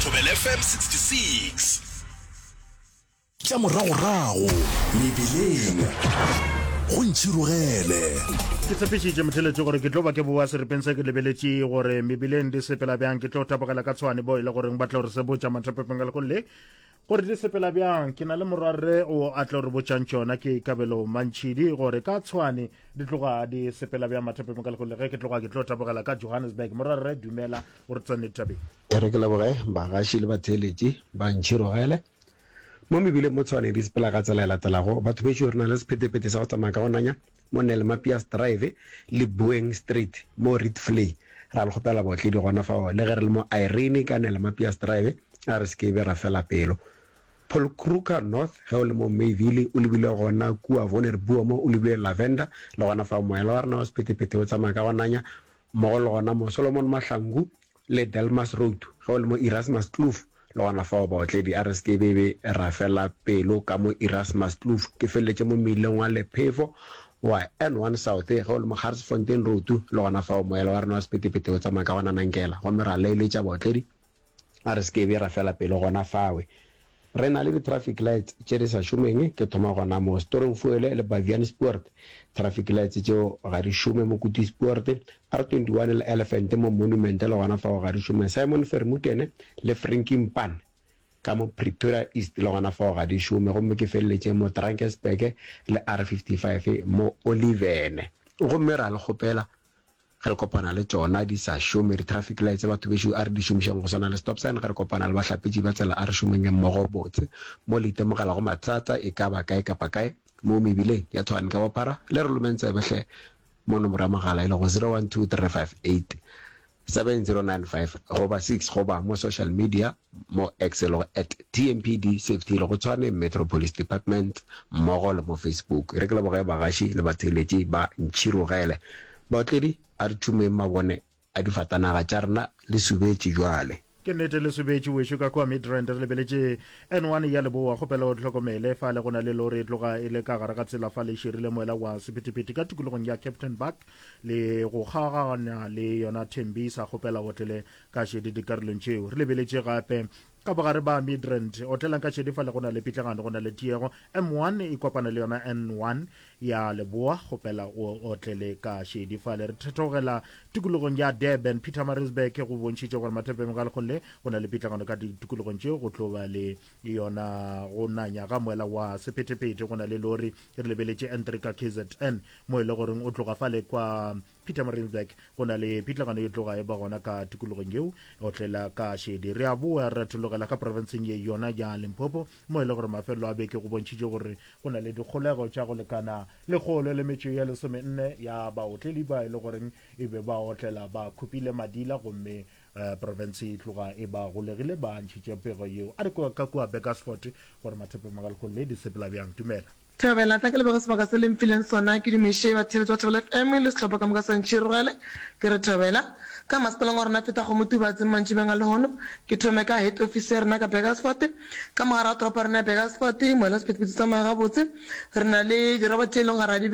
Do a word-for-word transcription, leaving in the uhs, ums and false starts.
Thobela F M sixty-six. Tša moragorago mebileng go ntšhirogele. Ke tshepišitše motheletši gore ke tlo ba ke boa seripeng se ke lebeletše gore mebileng di sepela bjang. Ke tlo tapogela ka Tshwane bo e le goreng ba tlo re sebotša mathapepeng ka lekgong le gore di sepela bjang. Ke na le morwarre o a tlo re botšang tšona, ke Kabelo Mantšhidi, gore ka Tshwane di tloga di sepela bjang mathapepeng ka lekgong le. Ge ke tloga ke tlo tapogela ka Johannesburg. Morwarre, dumela o re tsene tabeng. E re ke leboge bagaši le batheeletši ba ntšhirogele. Mo mebileng mo Tshwane di sepela ka tsela e latelago. Batho bešo, re na le sephethephethe sa go tsamaya ka go nanya mo Nellmapius Drive le Boeng Street mo Rietvlei. Ra le kgopela baotledi gona fao, le ge re le mo Irene ka Nellmapius Drive, a re se ke be ra fela pelo. Paul Kruger North, ge o le mo Mayville o lebile gona kua Wonderboom o lebile Lavender, le gona fao moela wa rena wa sephethephethe o tsamaya ka go nanya, mmogo le gona mo Solomon Mahlangu le Delmas Road, ge o le mo Erasmus Kloof, le gona fao baotledi a re se ke be be ra fela pelo ka mo Erasmus Kloof. Ke feleletše mo mmileng wa Lephefo wa N one South, ge o le mo Garsfontein Road, le gona fao moela wa rena wa sephethephethe o tsamaya ka go nanankela, gomme ra laeletša baotledi a re se ke be ra fela pelo gona fawe. Re na le di-traffic lights tše di sa šomeng, ke thoma gona mo Stormvoël le Baviaanspoort, traffic lights tšeo ga di šome mo Koetsiespoort, R twenty-one le Elephant mo Monument, le gona fao ga di šome, Simon Vermuten le Frankenpan ka mo Pretoria East, le gona fao ga di šome, gomme ke feleletše mo Drakensberg le R fifty-five mo Oliven. Gomme ra le kgopela ge re kopana le tšona di sa šome di-traffic lights, batho bešo a re di šomišeng go swana le stop sign. Ge re kopana le bahlapetši ba tsela, a re šomeng mmogo botse. Mo le itemogelago mathata e ka ba kae kapa kae mo mebileng ya Tshwane ka bophara, le re lomeng tsebe hle mo nomoro ya mogala e lego zero one two three five eight seven zero nine five goba six, goba mo social media mo X e lego at T M P D Safety, e lego Tshwane Metro Police Department, mmogo le mo Facebook. Re ke leboge bagaši le batheeletši ba ntšhirogele. Baotledi, a re tšhumeng mabone a difatanaga tša rena, le subetše jwale. Ke nnete le subetše wešo ka kua Midrand. Re lebeletše N one ya Leboa, kgopela o hlokomele fale go na le lori e tloga e le ka gare ga tsela fale e širile moela wa sephethephethe ka tikologong ya Captain Park le go kgaogana le yona Tembisa, kgopela o tlele ka šedi dikarolong tšeo. Re lebeletše gape ka bogare ba Midrand, otlelang ka šedi fale go na le pitlagano, go na le tiego, M one e kopana le yona N one ya Leboa, kgopela o otlele ka šedi fale. Re thethogela tikologong ya Durban, Pietermaritzburg, go bontšhitše gore mathepeng ga lekgong le go na le pitlagano ka ditikologong tšeo, go tlo ba le yona go nanya ga moela wa sephethephethe, go na le lori. Re lebeletše N three ka K Z N mo e le goreng o tloga fale kwa Pietermaritzburg, go na le pitlagano e tloga e ba gona ka tikologong yeo, otlela ka šedi. Re a boa re thologela ka profenseng ye yona ya Limpopo mo e le gore mafelelo a beke go bontšhitše gore go na le dikgolego tša go lekana lekgolo le metšo ya lesomenne ya baotledi ba e le goreng e be ba otlela ba khupile madila, gomme uh, province e tloga e ba golegile, ba ntšhitše pego yeo. A re ka kua Burgersfort gore mathepe magalekgolo le di sepela bjang. Dumela. Thobela, tla ke leboge sebaka se le mphileng sona, ke dumiše batheeletši ba Thobela F M le sehlopha ka moka sa Ntšhirogele. Ke re thobela. Ka masepaleng wa rena feta Kgomotubatse mantšibeng a lehono, ke thome ka head office ya rena ka Burgersfort. Ka mogare ga toropo ya rena ya Burgersfort, moela sephethephethe tsamaya gabotse. Re na le diroba tše e leng gore ga di